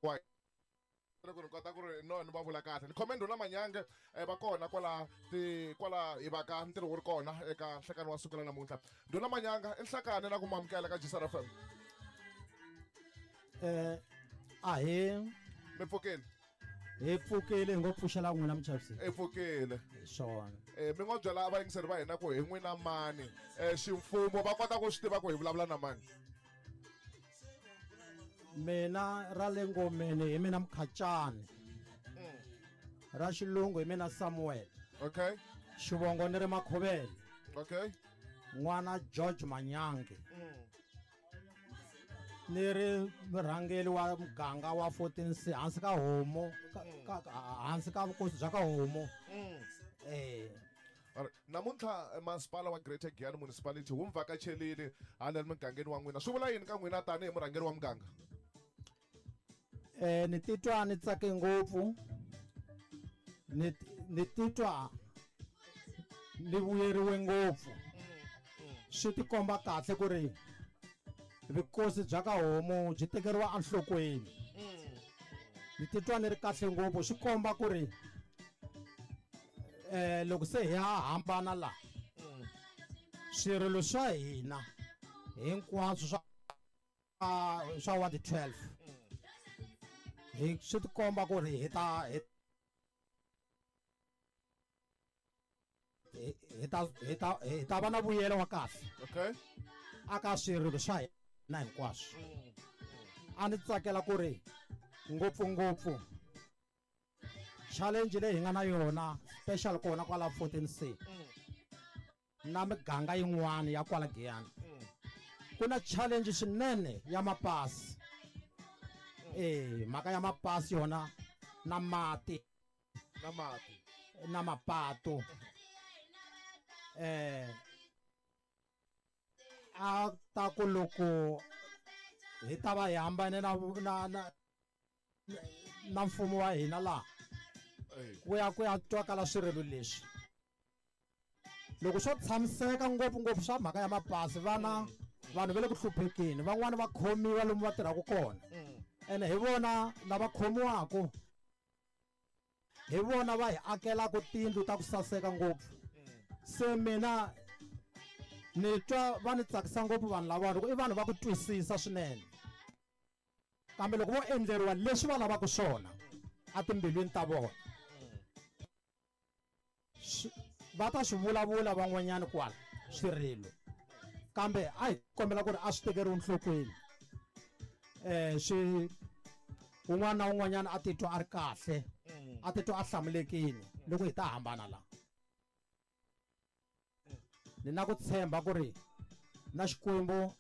Wa ku ni kota ku ri no ni va vula kahle ni khome ndhuna Manyange va kona kwala ti kwala hi va ka ntirho wu ri kona eka nhlekani wa siku ra namuntlha. Ndhuna Manyanga i nhlekani na ku mamukela ka Gisara FM. Ahe mi pfukile? Hi pfukile, hi ngo pfuxela n'wina muchavisi. I pfukile. Swona. Mi ngo byela vayingiseri va hina ku hi n'wina mani, ximfumo va kota ku swi tiva ku hi vulavula na mani? Mina ra le ngomeni hi mina Mkhacani. Ra xilungu hi mina Samuel. Okay. Xivongo ni ri Makhovele. Okay. N'wana George Manyange. Ni ri murhangeri wa muganga wa 14C hansi ka homo, hansi ka vukosi bya ka homo. Namuntlha masipala wa Greater Giyani Municipality wu mi vhakachelile hala mugangeni wa n'wina. Swi vula yini ka n'wina tanihi murhangeri wa muganga? Ni titwa ni tsake ngopfu. Ni titwa ni vuyeriwe ngopfu. Swi tikomba kahle ku ri vukosi bya ka homo byi tekeriwa enhlokweni. Ni titwa ni ri kahle ngopfu, swi komba ku ri loko se hi ha hambana la swirilo swa hina hinkwaswo swa ward 12 hi swi tikomba ku ri hi ta va na vuyelo wa kahle. Okay. Aka swirilo swa hina hinkwaswo. A ni tsakela ku ri ngopfungopfu challenge leyi hi nga na yona special kona kwala 14C na miganga yin'wana ya kwala Giyani. Ku na challenge swinene ya mapasi. Mhaka ya mapasi yona na mati. Na mati. Na mapato. A ta ku loko hi ta va hi hambane na mfumo wa hina laha. Ku ya ku ya twakala swirilo leswi. Loko swo tshamiseka ngopfu-ngopfu swa mhaka ya mapasi, vana vanhu va le ku hluphekeni, van'wani va khomiwa lomu va tirhaka kona. Ene hi vona lava khomiwaka, hi vona va hi akelaka tiyindlu ta ku saseka ngopfu. Se mina ni twa va ni tsakisa ngopfu vanhu lava, loko i vanhu va ku twisisa swinene. Kambe loko vo endleriwa leswi va lavaka swona etimbilwini ta vona, va ta swi vulavula van'wanyana kwala swirilo, kambe a hi kombela ku ri a swi tekeriwi enhlokweni. Swi un'wana na un'wanyana a titwa a ri kahle, a titwa a hlamulekile loko hi ta hambana la. Ni na ku tshemba ku ri na Xikwembu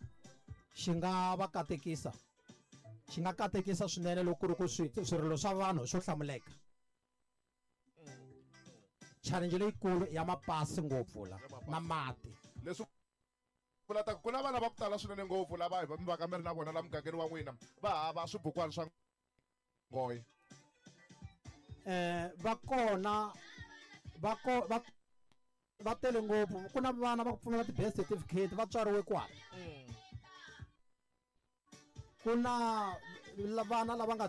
xi nga va katekisa, xi nga katekisa swinene loko ku ri ku swirilo swa vanhu swo hlamuleka. Challenge leyikulu ya mapasi ngopfu la na mati. Leswi vula ta ku na vana va ku tala swinene ngopfu lava hi va ka mi ri na vona la mugangeni wa n'wina va hava swibukwana swa nghohe. Va kona, va ko, va, va tele ngopfu. Ku na vana va ku pfumala ti-birth certificate va tswariwe kwala. Ku na vana lava nga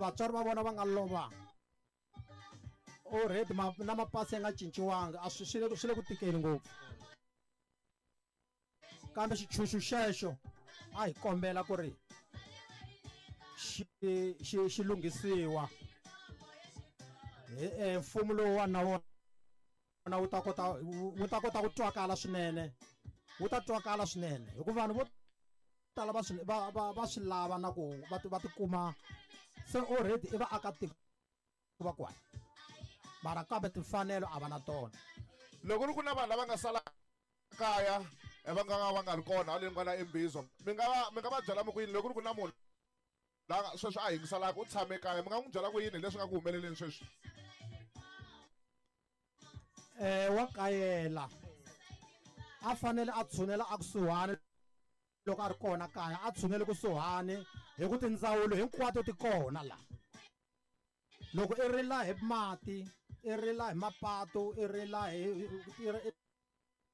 vatswari va vona va nga lova already na mapasi ya nga cinciwanga, a swi, swi le ku, swi le ku tikeni ngopfu. Kambe xitshunxo xexo a hi kombela ku ri xi lunghisiwa. Hi mfumo lowu wa na wona wu ta kota, wu ta kota ku twakala swinene, wu ta twakala swinene hikuva vanhu vo tala va swi, va, va, va swi lava na ku va ti, va tikuma se already i vaakatiko va kwala, mara kambe timfanelo a va na tona. Loko ri ku na vanhu lava nga sala kaya, va nga va nga ri kona haleni kwala eMbizo, mi nga va byela mi ku yini loko ri ku na munhu la sweswi a yingiselaka u tshame kaya, mi nga n'wi byela ku yini leswi nga ku humeleleni sweswi? Wa kayela, a fanele a tshunela a kusuhani loko a ri kona kaya, a tshunele kusuhani hi ku tindzawulo hinkwato ti kona la. Loko i rila hi mati, i rila hi mapato, i rila hi, i ri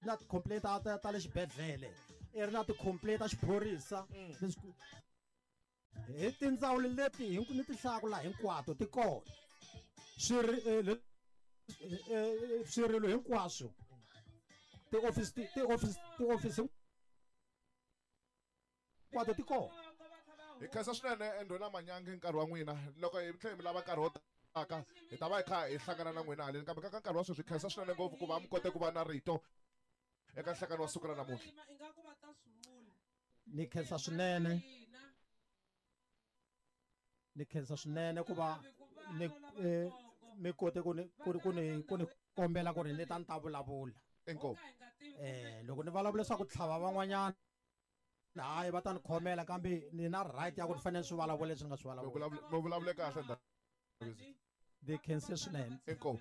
na ti-complaint ta le xibedhlele, i ri na ti-complaint ta xiphorisa, leswi Hi tindzawulo leti ni ti hlayaka laha hinkwato ti kona. Swirilo hinkwaswo tiofisi hinkwato ti kona. Hi khensa swinene Ndhuna Manyange nkarhi wa n'wina. Loko hi tlhela mi lava nkarhi wo taka hi ta va hi kha hi hlangana na n'wina haleni, kambe ka nkarhi wa sweswi hi khensa swinene ngopfu ku va mi kote ku va na rito eka nhlangano wa siku ra namuntlha. Ni khensa swinene. Ni khensa swinene ku va ni mi kote ku ni kombela ku ri ni ta ni ta vulavula. Inkomu. Loko ni vulavula leswaku tlhava van'wanyana, hayi va ta ni khomela, kambe ni na right ya ku ni fanele swi vulavula leswi ni nga swi vulavula. Mi vulavule kahle ndhawu. Ni khense swinene. Inkomu.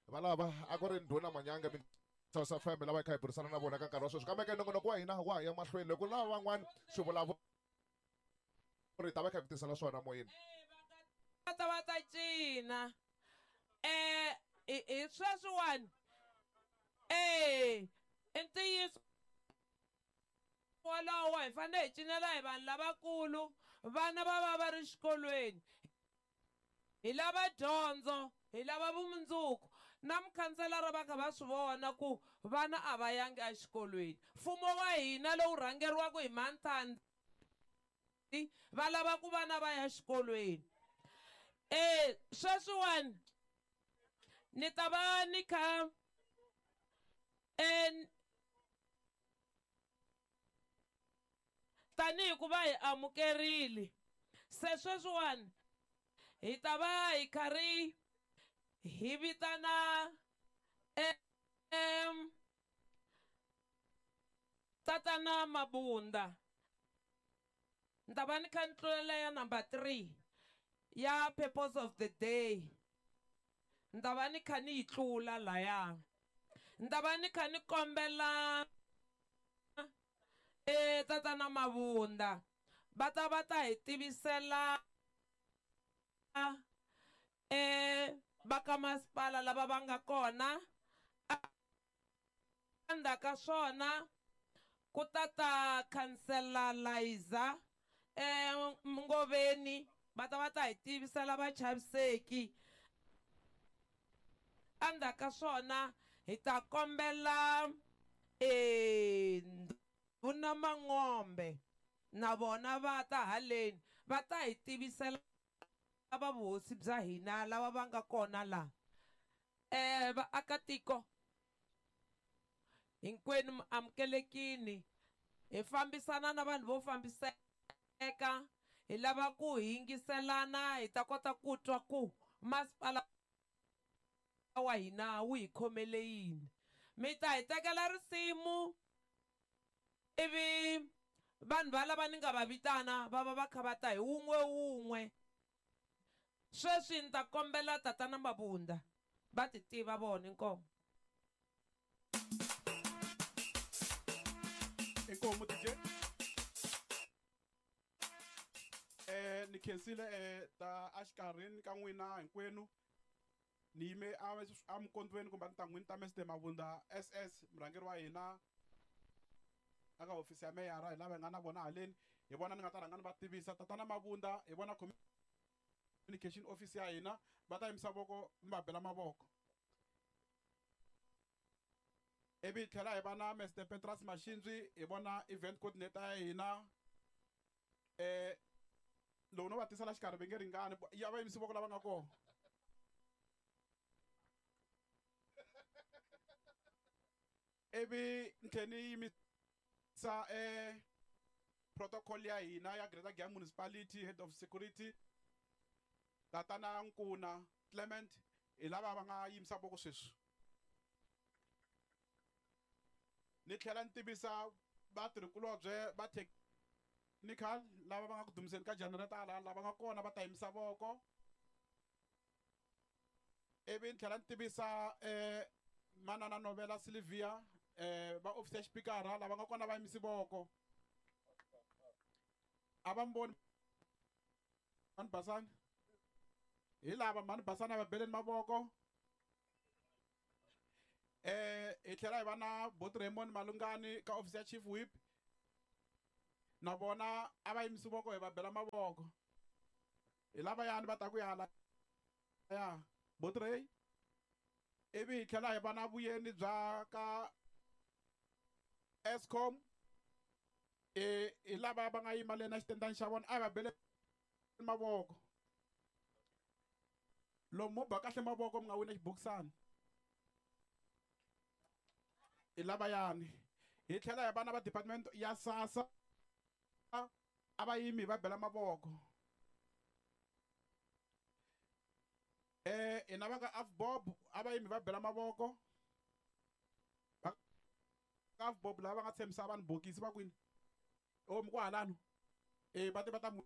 Valava a ku ri Ndhuna Manyange South FM lava hi kha hi burisana na vona ka nkarhi wa sweswi, kambe ke nongonoko wa hina wa ha ya mahlweni. Loko lava van'wana swi vulavula ri ta va kha hi tisela swona moyeni. Va ta va ta cina. Hi sweswiwani. I ntiyiso wolowo hi fanele hi cinela hi vanhu lavakulu, vana va va va ri xikolweni. Hi lava dyondzo, hi lava vumundzuku. Na mukhanselara va kha va swi vona ku vana a va yangi exikolweni. Mfumo wa hina lowu rhangeriwaka hi Manthandzi va lava ku vana va ya xikolweni. Sweswiwani ni ta va ni kha tanihi ku va hi amukerile. Se sweswiwani hi ta va hi karhi hi vitana Tatana Mabunda. Ni ta va ni kha ni tlulela ya number 3 ya purpose of the day. Ni ta va ni kha ni yi tlula laya. Ni ta va ni kha ni kombela Tatana Mabunda va ta va ta hi tivisela va ka masipala lava va nga kona. Endzhaku ka swona ku ta ta Khansela Liza Ngoveni, va ta va ta hi tivisela vachaviseki. Endzhaku ka swona hi ta kombela Ndhuna Mangombe na vona va ta haleni va ta hi tivisela va vuhosi bya hina lava va nga kona laha. Vaakatiko hinkwenu mi amukelekini. Hi fambisana na vanhu vo fambiseka, hi lava ku yingiselana, hi ta kota ku twa ku masipala wa hina wu hi khomele yini. Mi ta hi tekela risimu ivi vanhu va lava ni nga va vitana va va va kha va ta hi wun'we wun'we. Sweswi ni ta kombela Tatana Mabunda va ti tiva vona. Inkomu. Inkomu DJ. Ni khensile ta exikarhini ka n'wina hinkwenu. Ni yime a mukondweni kumbe ntangwini ta Mr Mabunda SS murhangeri wa hina aka hofisi ya meyara, hi lava hi nga na vona haleni. Hi vona ni nga ta rhanga ni va tivisa. Tatana Mabunda hi vona communication office ya hina, va ta yimisa voko mi va bela mavoko. Ivi hi tlhela hi va na Mr Petras Mashinzwi, hi vona event coordinator ya hina. Loko no va tisela xikarhi va nge ringani, ya va yimisi voko lava nga kona. Ivi ni tlhela ni yimisa protocol ya hina ya Greater Giyani Municipality, Head of Security Tatana Nkuna Clement, hi lava va nga yimisa voko sweswi. Ni tlhela ni tivisa vatirhikulobye va technical lava va nga ku dumiseni ka generator laha, lava nga kona va ta yimisa voko. Ivi ni tlhela ni tivisa Manana Novela Sylvia, va office ya xipikara lava nga kona va yimisi voko. A va mi voni Mhani Basani? Hi lava Mhani Basani a va beleni mavoko. Hi tlhela hi va na Bot Raymond Malungani ka office ya Chief Whip. Na vona a va yimisi voko hi va bela mavoko. Hi lavayani va ta ku ya hala ya Botrey. Ivi hi tlhela hi va na vuyeni bya ka Eskom. Hi lava va nga yima le na xitendani xa vona, a hi va bele mavoko. Lomu mo ba kahle mavoko mi nga wina xibokisana. Hi lavayani. Hi tlhela hi va na va department ya SASSA, a va yimi va bela mavoko. Hina va ka AVBOB a va yimi va bela mavoko. Va ka AVBOB lava va nga tshembisa vanhu bokisi va kwini? O mi ku halano. Va te va ta mi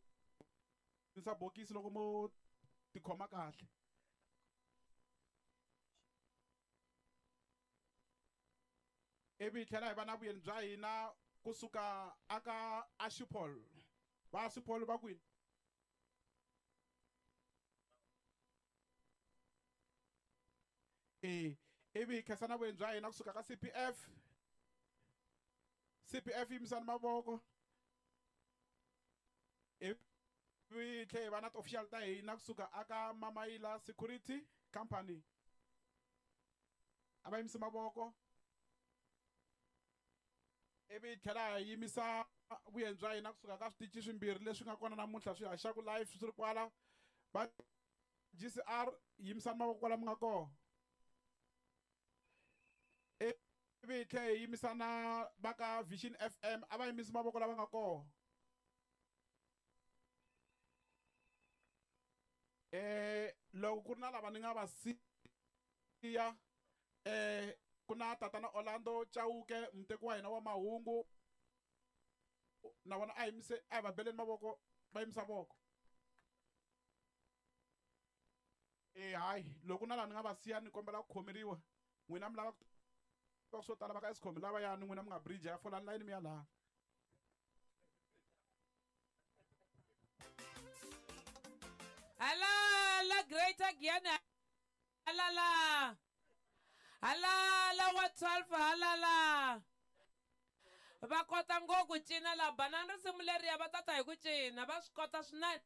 yisa bokisi loko mo tikhoma kahle. Ivi hi tlhela hi va na vuyeni bya hina kusuka aka Ashipol. Va Ashipol va kwini? Ivi hi khensa na vuyeni bya hina kusuka ka CPF. CPF yimisani mavoko. Ivi hi tlhela hi va na ti-official ta hina kusuka aka Mamaila Security Company. A va yimisi mavoko. Ivi hi tlhela hi yimisa vuyeni bya hina kusuka ka switichi swimbirhi leswi nga kona namuntlha swi haxaku live swi ri kwala. Va GCR yimisani mavoko kwala mi nga kona. Ivi hi tlhela hi yimisa na va ka Vision FM, a va yimisi mavoko lava nga kona. Loko ku ri na lava ni nga va siya, ku na tatana Orlando Chauke, muteki wa hina wa mahungu, na vona a yimise, a hi va beleni mavoko, va yimisa voko. Hayi, loko na laha ni nga va siya ni kombela ku khomeriwa. N'wina mi lava ku tiva swo tala va ka Eskom lavayani, n'wina mi nga bridge ya folani layini mi ya laha. Halala Greater Giyani, halala. Halala wa 12, halala. Va kota ngopfu ku cina la, banana risimu leriya va tata hi ku cina, va swi kota swinene.